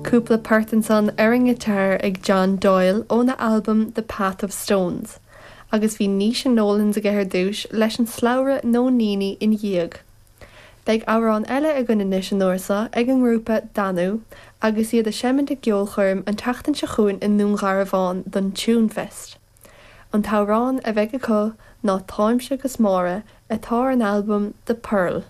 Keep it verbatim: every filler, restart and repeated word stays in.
Cúpla port ansan ar an ngiotár ag John Doyle óna albam The Path of Stones, agus bhí Naoise Nolans aige ar dtús leis an slabhra Nóiníní ina dhiaidh. Beidh amhrán eile againn anois an uair seo ag an ngrúpa Danú agus iad ag seinm i gceolchoirm an tseachtain seo chugainn i nDún Garbhán don Tunefest. An t-amhrán a bheidh acu ná Táimse agus Máire atá ar an albam The Pearl.